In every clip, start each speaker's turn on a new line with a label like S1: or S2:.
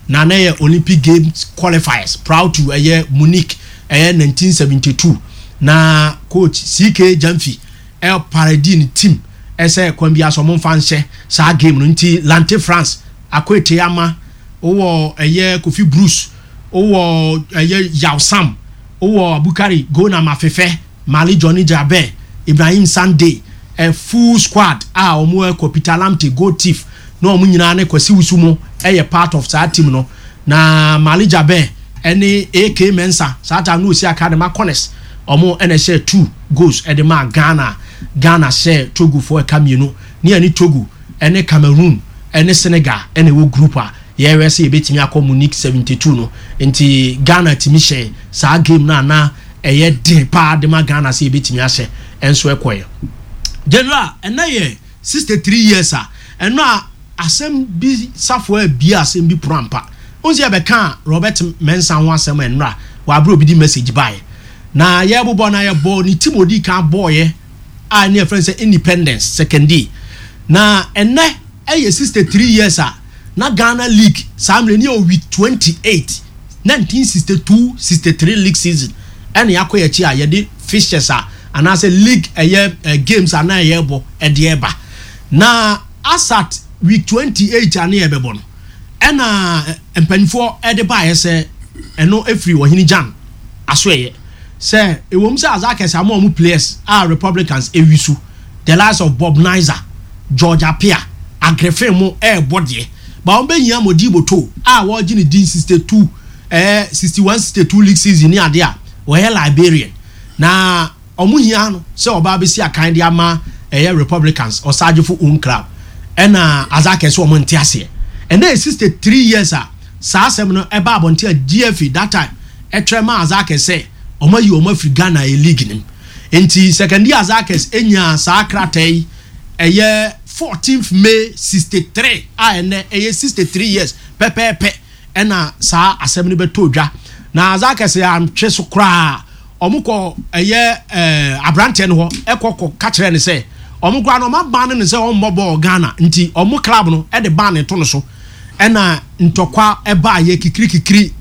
S1: Na na ɛyɛ Olympic Games qualifiers prior to ɛyɛ Munich ɛyɛ 1972. Na coach CK Gyamfi ɛ parade ne team ɛsɛ kwan bi aso ɔmo nfa nhyɛ saa game no. Nti Lante France Akwete ama wowɔ ɛyɛ Kofi Bruce, wowɔ ɛyɛ Yaw Sam, wowɔ Abukari Gona Mafefɛ, Mali Johnny Jaber, Ibrahim Sunday, a full squad a wɔn ɛkɔ. Peter Lamte, goal thief, na wɔn nyinaa ne Kwasi Wusu mo ɛyɛ part of saa team no. Na Mali Jaber ɛne AK Mensa, saa time no osi aka de ma Corners, wɔn ɛna ɛhyɛ two goals ɛde ma Ghana. Ghana hyɛ Togo fo ɛka mmienu ne ɛne Togo ɛne Cameroon ɛne Senegal ɛna ɛwɔ group a yɛrɛ sɛ yɛbɛtumi akɔ Munich 72 no. Nti Ghana tumi hyɛ saa game no a na ɛyɛ den paa de ma Ghana sɛ yɛbɛtumi ahyɛ ɛnso ɛkɔɛ. General, ɛnɛ yɛ 63 years a ɛno a asɛm bi safo a bia asɛm bi pono ampa n sɛ yɛbɛka Robert Mensa ho asɛm. Ɛnora wɔaberɛ obi di message baeɛ na yɛbobɔ na yɛbɔ ne team odi kan bɔɔyɛ a ne yɛfrɛ no sɛ Independence Sekondi. Na ɛnɛ ɛyɛ 63 years a na Ghana league saa mmerɛ ne yɛ week 28, 1962-63 league season. Ɛna yɛakɔ yɛkyi a yɛde fixtures a anaasɛ league ɛyɛ games a na ɛyɛ bɔ ɛde ɛba. Na asat week 28 a ne yɛbɛbɔ no, ɛna mpanyinfoɔ ɛde baayɛ sɛ ɛno efiri Ɔhene Gyan aso ɛyɛ sɛ ewom sɛ Hasaacas ama ɔmo players a Republicans ewi so, the likes of Bob Nizer, George Apia, Agrefin mo ɛɛbɔ deɛ ba wɔn bɛnyia Modibo To a wɔregye ne din 62 61-62 league season ne adeɛ a wɔyɛ Liberian na ɔmo hia no sɛ ɔbaa bɛsi akan de ama ɛyɛ Republicans Ɔsagyefo own club. Ɛna Hasaacas sɛ ɔmo nte aseɛ. Ɛnna yɛ 63 years a saa asɛm no ɛba abɔnten a GFA that time ɛtwerɛ ma Hasaacas sɛ ɔmo ayi ɔmo afiri Ghana yɛ league nim. Nti Sekondi Hasaacas enya saa krataa yi ɛyɛ 14th May 63 a ɛnɛ ɛyɛ 63 years pɛpɛɛpɛ. Ɛna saa asɛm no bɛtɔ dwa na Hasaacas antwe so koraa. Ɔmo kɔ ɛyɛ aberanteɛ no hɔ ɛkɔ kɔ ka kyerɛ ne sɛ ɔmo koraa no ɔmo aban no ne sɛ ɔmmɔ bɔɔl Ghana. Nti ɔmo club no ɛde ban ne to no so. Ɛna ntɔkwa ɛbaa yɛ kikirikikiri,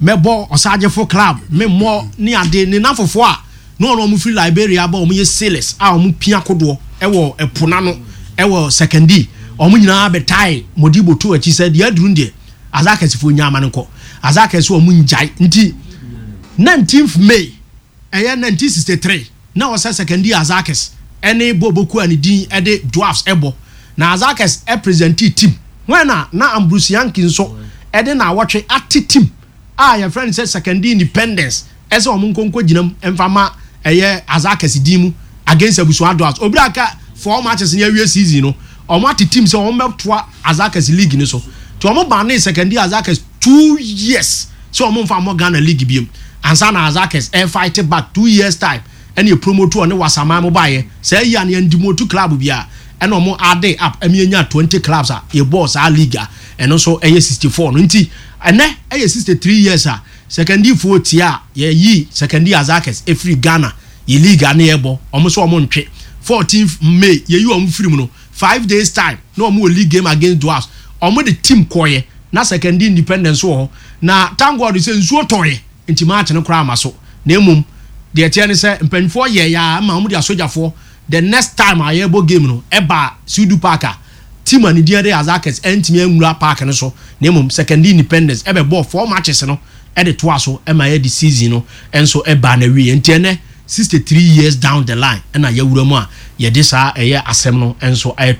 S1: mɛbɔ Ɔsagyefo club memmɔ ne ade ne nafofoɔ a na ɔno ɔmo firi Liberia ba, ɔmo yɛ sailors a ɔmo pia kodoɔ ɛwɔ ɛpo n'ano ɛwɔ Sekondi. Ɔmo nyinaa bɛtae Modibo to akyi sɛ deɛ aduru deɛ Hasaacasfoɔ nya ama no nkɔ. Hasaacas ɔmo ngyae. Nti 19th May ɛyɛ 1963 na ɔsɛ Sekondi Hasaacas ɛne Boboku a ne din ɛde Dwarfs ɛbɔ. Na Hasaacas ɛpresent team wɔn na Ambrose Yankee nso ɛde na awɔtwe ate team a yɛfrɛ no sɛ Sekondi Independence ɛsɛ wɔn nkonko gyina mu mfa ma ɛyɛ Hasaacas din mu against Abusua Dwarfs. Obi aka four matches ne awie season no, wɔn ate team sɛ wɔn bɛtoa Hasaacas league ni so. Tí wɔn ban ne Sekondi Hasaacas 2 years sɛ wɔn mfa mmɔ Ghana league biem ansa na Hasaacas ɛfight back 2 years time. Ɛna promote ɔne Wasaman mo baayɛ sɛ ɛyi a ne yɛn demote club bi a ɛna wɔn ade up ɛmi enya 20 clubs a yɛbɔɔ saa league a ɛno nso ɛyɛ 64 no. Nti ɛnɛ ɛyɛ 63 years a Sekondifoɔ tie a yɛyi Sekondi Hasaacas efiri Ghana yɛ league a ne yɛbɔ. Wɔn nso wɔn ntwe. 14 May yɛyi wɔn firi mu no, 5 days time na wɔn wɔ league game against Dwarfs. Wɔn de team kɔɔyɛ na Sekondi Independence wɔ hɔ. Na thank God sɛ nsuo tɔɔyɛ nti match no koraa ama so. Na emom deɛ ɛteɛ ne sɛ mpanyinfoɔ yɛ ya ama wɔn de asogyafoɔ. The next time a yɛbɔ game no ɛba Sudu Park a team a ne din de Hasaacas ɛntumi nwura park no so. Na emom Sekondi Independence ɛbɛbɔ four matches no ɛde toa so ɛma yɛ de season no ɛnso ɛbaa na wie. Nti ɛnɛ 63 years down the line ɛna yɛwura mu a yɛde saa ɛyɛ asɛm no ɛnso ɛyɛ.